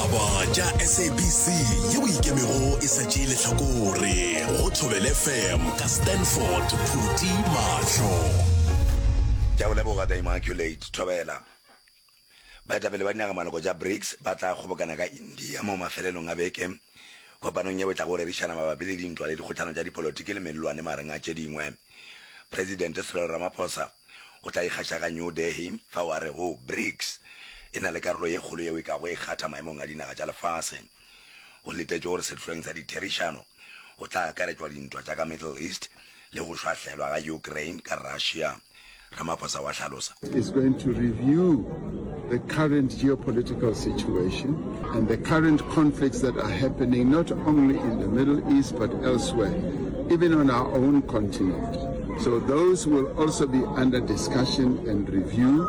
Ditaba tša SABC yeo ikemego e sa tšee lehlakore go Thobela FM ka Stanford Phuti Mahlo. Ke a go leboga The Immaculate Thobela. Baetapele ba dinagamaloko tša BRICS ba tla kgobokana ka India mo mafelelong a beke kopanong yeo e tlago rerišana mabapi le dintwa le dikgohlano tša dipolotiki le mellwane magareng a tše dingwe. Presidente Cyril Ramaphosa o tla ikgaša ka New Delhi fao a rego BRICS e na le karolo ye kgolo yeo e kago e kgatha maemong a dinaga tša lefase. Go letetšwe gore sehloeng sa ditherišano go tla akaretšwa dintwa tša ka Middle East le go šwahlelwa ga Ukraine ka Russia, Ramaphosa wa hlalosa. Is going to review the current geopolitical situation and the current conflicts that are happening not only in the Middle East but elsewhere, even on our own continent. So those will also be under discussion and review,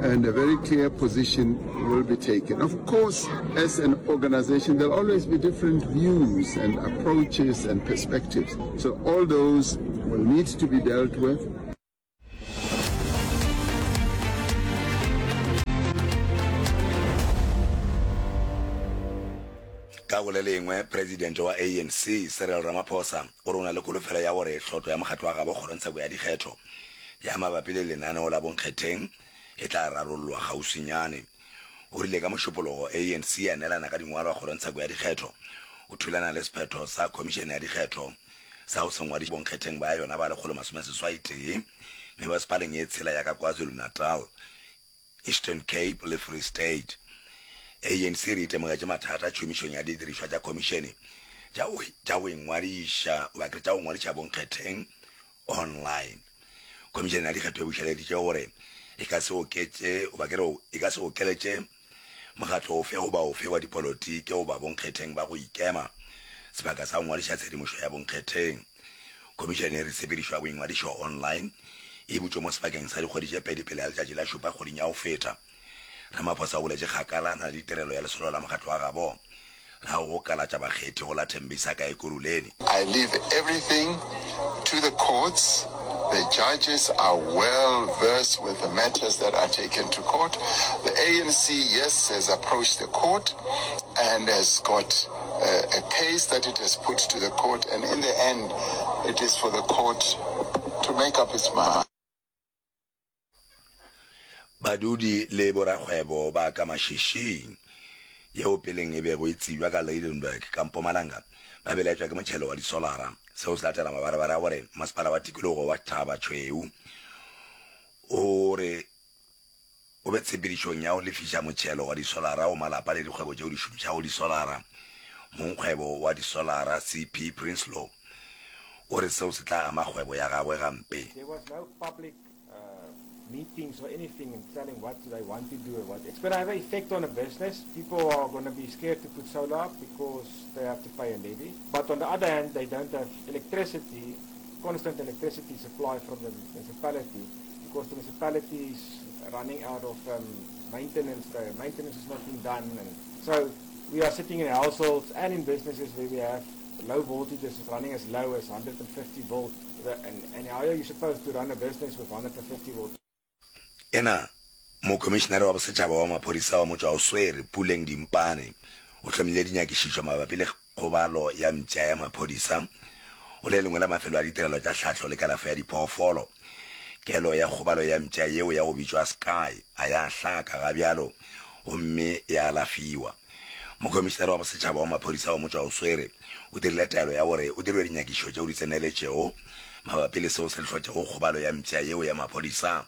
and a very clear position will be taken. Of course, as an organization, there'll always be different views and approaches and perspectives. So all those will need to be dealt with. Ka go le lengwe, Presidente wa ANC, Cyril Ramaphosa, o re o na le kholofelo ya gore hlotlo ya mokgatlo wa gabo kgorongtsheko ya dikgetho ya mabapi le lenaneo la bonkgetheng e tla rarollwa kgauswinyane. O rile ka Mošupologo ANC ya neelana ka dingwalwa kgorongtsheko ya dikgetho o thulana le sephetho sa Khomišene ya Dikgetho sa go se ngwadiše bonkgetheng ba yona ba 161 mebasepaleng ye tshela ya ka KwaZulu-Natal, Eastern Cape le Free State. ANC e re itemogetše mathata tšhomišong ya didirišwa tša khomišene tša go ingwadiša goba ke re tša go ngwadiša bonkgetheng online. Khomišene ya Dikgetho e bušeleditše gore e ka se oketše goba ke re e ka se okeletše mokgatlo ofe goba ofe wa dipolotiki goba bonkgetheng ba go ikema sebaka sa go ngwadiša tshedimošo ya bonkgetheng. Khomišene e re tshepedišo ya boingwadišo online e butšwe mo sebakeng sa dikgwedi tše pedi pele ga letšatši la šupa kgweding ya go feta. Ramaphosa o boletše kgakala na le ditirelo ya lesolo la mokgatlo wa gabo la go kalatša bakgethi go la Tembisa ka Ekurhuleni. I leave everything to the courts, the judges are well versed with the matters that are taken to court. The ANC, yes, has approached the court and has got a, a case that it has put to the court and in the end it is for the court to make up its mind. Badudi le borakgwebo ba ka Mashishing, yeo peleng e bego e tsebja ka Lydenburg ka Mpumalanga, ba belaetšwa ke motšhelo wa disolara. Seo se latela mabarebare a gore masepala wa tikologo wa Thaba Chweu o re o be tshepedišong ya go lefiša motšhelo wa disolara go malapa le dikgwebo tšeo di šomišago disolara. Mongkgwebo wa disolara CP Prinsloo o re seo se tla ama kgwebo ya gagwe gampe. There was no public uh, meetings or anything and telling what they want to do or what. It's going to have an effect on a business. People are going to be scared to put solar up because they have to pay a levy. But on the other hand, they don't have electricity, constant electricity supply from the municipality because the municipality is running out of um, maintenance. The maintenance is not being done. And so we are sitting in households and in businesses where we have low voltages running as low as 150 volt. And, and how are you supposed to run a business with 150 volt? Ena, Mokhomišenare wa Bosetšhaba wa Maphodisa wa Motšwaoswere, Puleng Dimpane, o hlomile dinyakišišo mabapi le kgobalo ya mpša ya maphodisa go le lengwe la mafelo a ditirelo tša tlhahlo le kalafo ya diphoofolo. Kelo ya kgobalo ya mpša yeo ya go bitšwa Sky a ya hlaka ga bjalo gomme ya alafiwa. Mokhomišenare wa Bosetšhaba wa Maphodisa wa Motšwaoswere o dirile taelo ya gore o dirwe dinyakišo tšeo di tseneletšego mabapi le seo se hlotšego kgobalo ya mpša yeo ya maphodisa,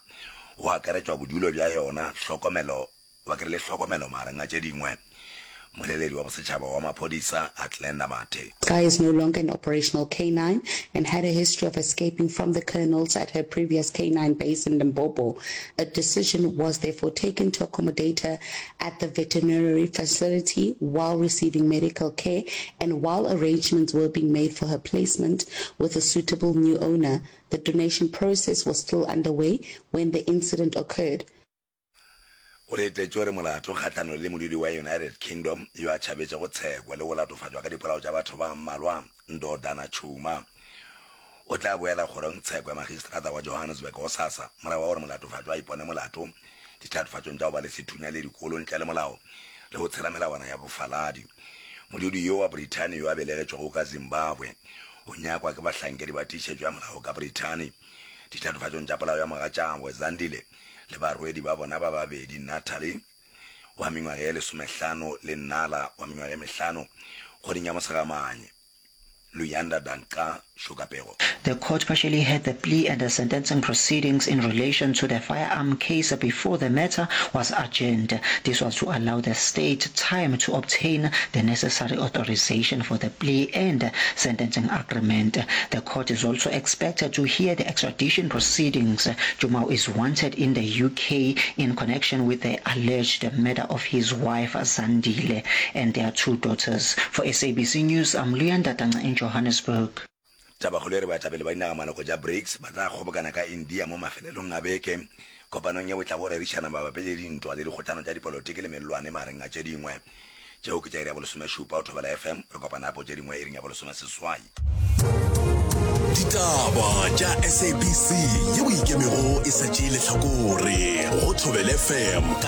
go akaretšwa bodulo bja yona, hlokomelo ba ke re le hlokomelo magareng a tše dingwe. Mmoleledi wa Bosetšhaba wa Maphodisa, Athlenda Mathe. Sky is no longer an operational K9 and had a history of escaping from the colonels at her previous K9 base in Limpopo. A decision was therefore taken to accommodate her at the veterinary facility while receiving medical care and while arrangements were being made for her placement with a suitable new owner. The donation process was still underway when the incident occurred. O letetše gore molato kgahlanong le modudi wa United Kingdom yo a tšhabetšego tsheko le go latofatšwa ka dipolao tša batho ba mmalwa, Ndodana Tshuma, o tla boela kgorongtsheko ya magistrata wa Johannesburg gosasa morago ga gore molatofatšwa a ipone molato dithatofatšong tša go ba le sethunya le dikolo ntle le molao. le go tshela melawana ya bofaladi. Modudi yo wa Brithani yo a belegetšwego ka Zimbabwe o nyakwa ke bahlankedi ba tiišetšo ya molao ka Brithani ditatofatšong tša polao ya mogatšagwe Zandile le barwedi ba bona ba babedi Natalie wa mengwaga ye lesomehlano le Nala wa mengwaga ye mehlano kgweding ya Mosegamanye. Luyanda Danca Shokapego. The court partially heard the plea and the sentencing proceedings in relation to the firearm case before the matter was adjourned. This was to allow the state time to obtain the necessary authorization for the plea and sentencing agreement. The court is also expected to hear the extradition proceedings. Jumao is wanted in the UK in connection with the alleged murder of his wife Zandile and their two daughters. For SABC News, I'm Luyanda Tanga in Johannesburg. Tabakgolo e re baetapele ba dinagamaloko tša BRICS ba tla kgobokana ka India mo mafelelong a beke kopanong yeo e tlago rerišana mabapi le dintwa le dikgohlano tša dipolotiki le mellwane magareng a tše dingwe. Tšeo ke tša iri ya bolesomešupa go Thobela FM. Re kopana gape go tše dingwe iring ya bolesomeseswai. Ditaba tša SABC yeo ikemego e sa tšee lehlakore go Thobela FM ka.